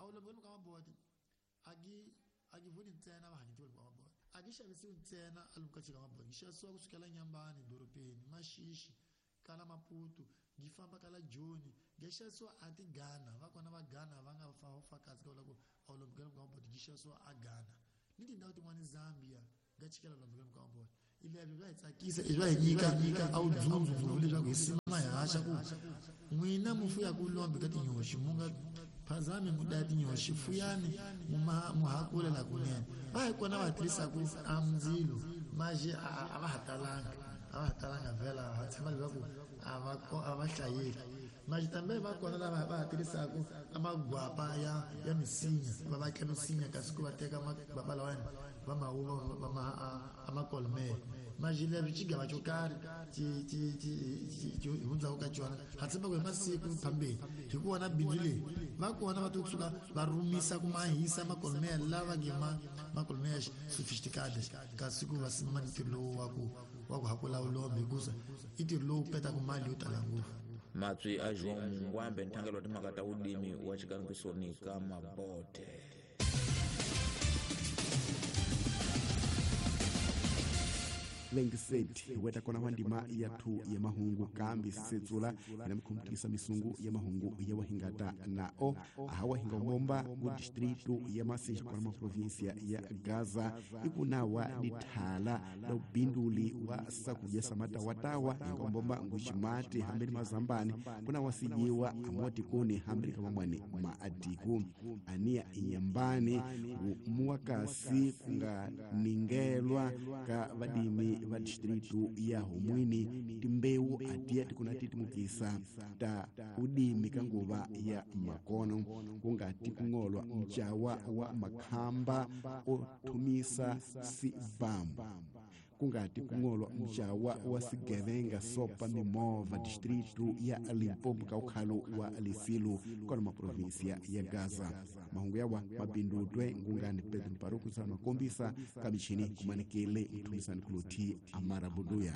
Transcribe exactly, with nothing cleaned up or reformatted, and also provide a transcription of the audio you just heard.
A wu lombi ka mabote a gi a gi voni ntsena va hanyetiwa ka mabote a gi xavisiwi ntsena a lomu ka chika mabote gi xavisiwa kusukela Nyambani dorobeni Maxixi kala Maputo gi famba kala Joni gi xavisiwa a ti Ghana va kona va Ghana va nga fa fakazi ka ku a wu lombi ka mabote gi xavisiwa a Ghana ni tindhawu tin'wani Zambia ga chikela lombi ka mabote ilebyo bya hi tsakisa i bya hi nyika a wu dzundzu ngopfu leswaku hi sima hi haxa ku n'wina mu fuyaku lombi ka tinyoxi mu nga phazami mu daya tinyoxi fuyani mu mu hakula la kunene va hi kona va tirhisaku a ndzilo maje a va ha talanga a va ha talanga vhela ha tshemba leswaku a va a va hlayeki maje tambe va kona lava va ha tirhisaku a magwapa ya ya misinya va vatla misinya kasi ku va teka magwapa lawani va ma va ma a makolmele maje leswi xigava xo karhi xi xi xi xi hundzaka ka xona ha tshemba ku hi masiku phambeni hi ku vona bindzu leyi va kona va to kusuka va rumisa ku mahisa makolmele lava nge ma makolmele sophisticated kasi ku va sima ntirho lowu wa ku wa ku hakula vulombe hikusa i ntirho lowu petaka mali yo tala ngopfu. Matswi a João Mungwambe nthangelo wa timhaka ta vulimi wa xikangisoni ka mabote. Vengiseti weta kona wa ndima ya thu ya mahungu kambi setsula na mkhumputisa misungu ya mahungu ya wahingata na o hawa hinga bomba ku distrito ya Masisi kona ma provincia ya Gaza ikunawa dithala la ubinduli wa sakuja samata watawa hinga bomba nguchimati hambeni mazambani kuna wasijiwa amoti kuni hambeni kama mwani maadiku ania inyambani muwakasi kunga ningelwa ka vadimi va distrito ya Homwini timbewu atiya tikuna titimukisa ta udimi ka nguva ya makono kungati kung'olwa mjawa wa makhamba o thumisa sibambu kungati kung'olwa mjawa wa sigevenga sopa mimova distrito ya Limpopo ka ukhalo wa Lisilu kona maprovinsia ya Gaza. Mahungu yawa mabindutwe ngungani Pedro Mparuku sana makombisa kamichini kumanekele mtumisani kuloti Amara Buduya.